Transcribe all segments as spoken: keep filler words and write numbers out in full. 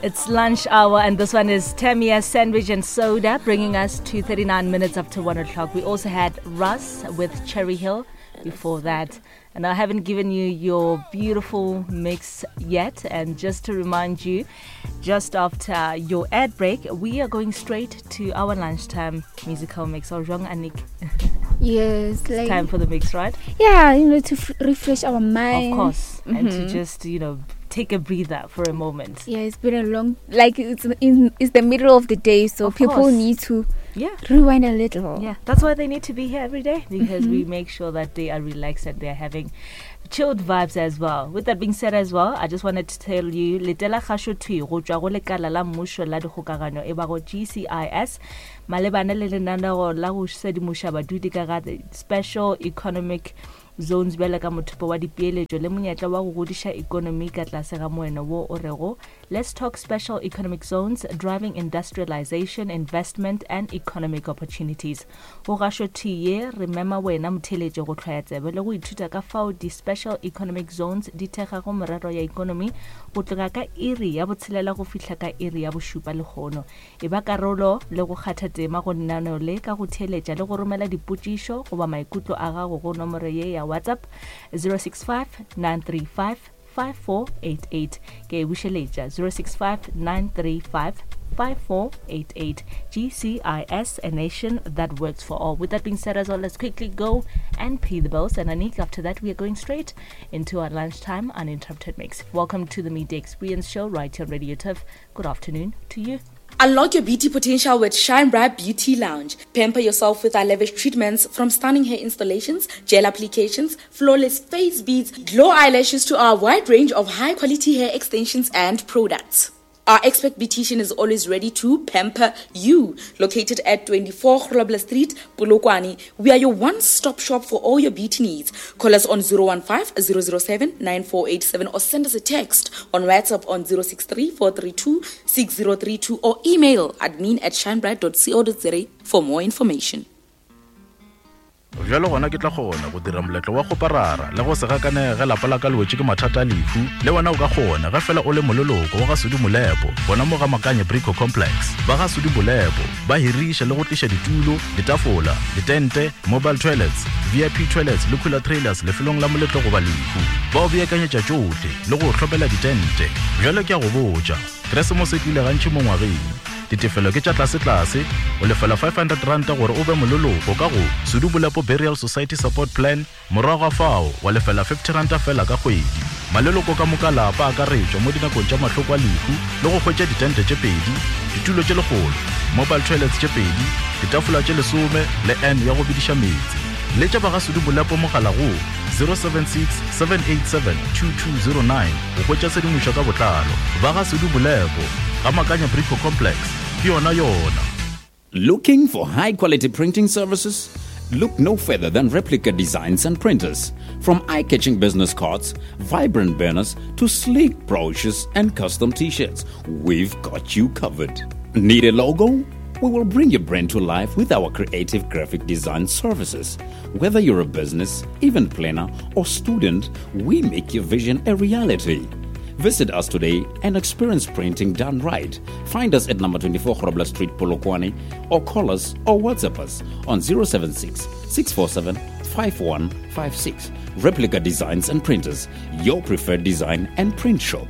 It's lunch hour, and this one is Tamia Sandwich and Soda, bringing us to thirty-nine minutes after one o'clock. We also had Russ with Cherry Hill before that. And I haven't given you your beautiful mix yet. And just to remind you, just after your ad break, we are going straight to our lunchtime musical mix. Or Jean Anik. Yes. It's like time for the mix, right? Yeah, you know, to f- refresh our mind. Of course. Mm-hmm. And to just, you know, take a breather for a moment. Yeah, it's been a long, like it's in, it's the middle of the day, so of people course. need to yeah. rewind a little. Yeah, that's why they need to be here every day, because mm-hmm. we make sure that they are relaxed and they're having chilled vibes as well. With that being said as well, I just wanted to tell you, letela kgašo thwi go tšwa go lekala la mmušo la dikgokagano e bago G C I S malebana le lenaneo la go sedimoša badudi ka ga Special Economic Zones bjale ka mothopo wa dipeeletšo le monyetla wa go godiša ekonomi ka tlase ga moeno wo o rego Let's Talk Special Economic Zones, Driving Industrialization, Investment and Economic Opportunities. Go gašo thwi ye re mema wena motheeletši go hlwaya tsebe le go ithuta ka fao di-Special Economic Zones di thekgago merero ya ekonomi go tloga ka iri ya botshelela go fihla ka iri ya bošupa lekgono. E ba karolo le go kgatha tema go lenaneo le ka go theeletša le go romela dipotšišo goba maikutlo a gago go nomoro ye ya WhatsApp zero six five nine three five five four eight eight. Ke e bušeletša zero six five nine three five five four eight eight. G C I S, a nation that works for all. With that being said as well, let's quickly go and pay the bills. And Anik, after that, we are going straight into our lunchtime uninterrupted mix. Welcome to the Midday Experience Show right here on Radio Turf. Good afternoon to you. Unlock your beauty potential with Shine Bright Beauty Lounge. Pamper yourself with our lavish treatments, from stunning hair installations, gel applications, flawless face beads, glow eyelashes to our wide range of high-quality hair extensions and products. Our expert beautician is always ready to pamper you. Located at twenty-four Grobler Street, Polokwane, we are your one-stop shop for all your beauty needs. Call us on zero one five, zero zero seven, nine four eight seven or send us a text on WhatsApp on zero six three, four three two, six zero three two or email admin at shinebright dot co dot za for more information. Bjalo gona ke tla kgona go dira moletlo wa go parara le go se gakane ge lapa la ka le wetše ke mathata a lehu. Le wena o ka kgona ge fela o le moleloko wa ga Sudi Molepo, bona mo ga Makanye Brico Complex. Ba ga Sudi Molepo ba hiriša le go tliša ditulo, ditafola, ditente, mobile toilets, V I P toilets le cooler trailers lefelong la moletlo goba lehu. Ba o beakanyetša tšohle le go hlopela ditente. Bjalo ke a go botša, Keresemose e tlile gantši mo ngwageng. Ditefelo ke tša tlase-tlase, o lefela five hundred rand gore o be moleloko ka go Sudi Molepo Burial Society Support Plan, morago ga fao wa lefela fifty rand fela ka kgwedi. Maleloko ka moka lapa a akaretšwa mo dinakong tša mahloko a lehu le go hwetša ditente tše pedi, ditulo tše lekgolo, mobile toilets tše pedi, ditafola tše lesome le N ya go bediša meetse. Letša ba ga Sudi Molepo mogala go zero seven six, seven eight seven, two two zero nine go hwetša tshedimošo ka botlalo. Ba ga Sudi Molepo ga Makanya Brico Complex, ke yona yona. Looking for high quality printing services? Look no further than Replica Designs and Printers. From eye-catching business cards, vibrant banners, to sleek brochures and custom t-shirts, we've got you covered. Need a logo? We will bring your brand to life with our creative graphic design services. Whether you're a business, event planner, or student, we make your vision a reality. Visit us today and experience printing done right. Find us at number twenty-four Grobler Street, Polokwane, or call us or WhatsApp us on zero seven six, six four seven, five one five six. Replica Designs and Printers, your preferred design and print shop.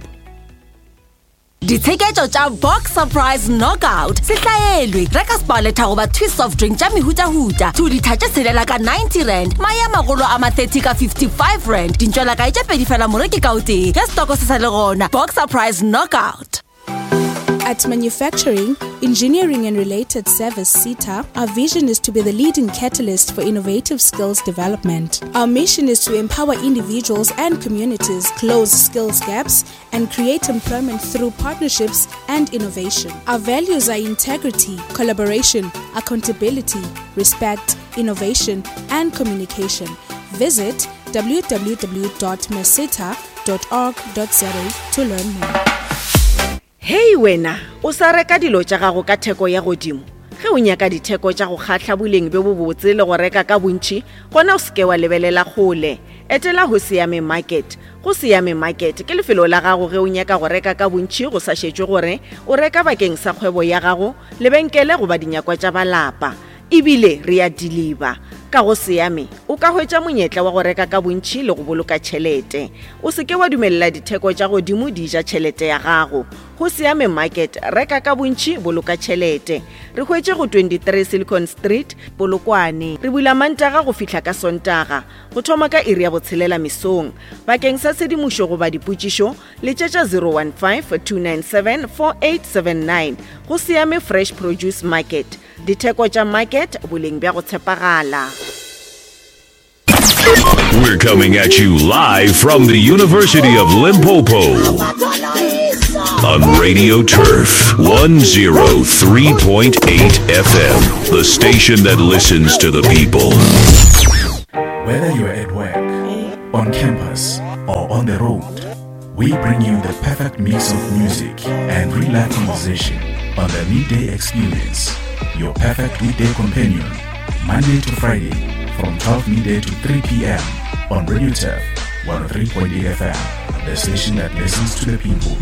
Ditsheketšo tša Box Surprise Knockout se hlaelwe. Reka Sparletta goba Twist soft drink tša mehutahuta two litha tše tshelela ka ninety rand, mae a magolo a ma thirty ka fifty-five rand, dintšwelakae tše pedi fela moreki ka o tee ge stoko se sa le gona. Box Surprise Knockout. At Manufacturing, Engineering and Related Service, SETA, our vision is to be the leading catalyst for innovative skills development. Our mission is to empower individuals and communities, close skills gaps, and create employment through partnerships and innovation. Our values are integrity, collaboration, accountability, respect, innovation, and communication. Visit w w w dot meseta dot org dot z a to learn more. Hei wena, o sa reka dilo tša gago ka theko ya godimo. Ge o nyaka ditheko tša go kgahla boleng bjo bobotse le go reka ka bontši, gona o seke wa lebelela kgole. Etela Hosiame Market. Go Siame Market ke lefelo la gago ge o nyaka go reka ka bontši go sa šetšwe gore o reka bakeng sa kgwebo ya gago, lebenkele goba dinyakwa tša balapa. Ebile re a deliver. Ka go Siame o ka hwetša monyetla wa go reka ka bontši le go boloka tšhelete. O se ke wa dumelela ditheko tša godimo di ja tšhelete ya gago. Go Siame Market, reka ka bontši, boloka tšhelete. Re hwetše go twenty-three Silicon Street, Polokwane. Re bula Mantaga go fihla ka Sontaga, go thoma ka iri ya botshelela mesong. Bakeng sa tshedimošo goba dipotšišo, letšetša zero one five, two nine seven, four eight seven nine. Go Siame Fresh Produce Market. Ditheko tša market, boleng bja go tshepagala. We're coming at you live from the University of Limpopo on Radio Turf one oh three point eight F M, the station that listens to the people. Whether you're at work, on campus, or on the road, we bring you the perfect mix of music and real-life conversation on the Midday Experience, your perfect weekday companion, Monday to Friday from twelve midday to three p m on Radio Turf one oh three point eight F M, the station that listens to the people.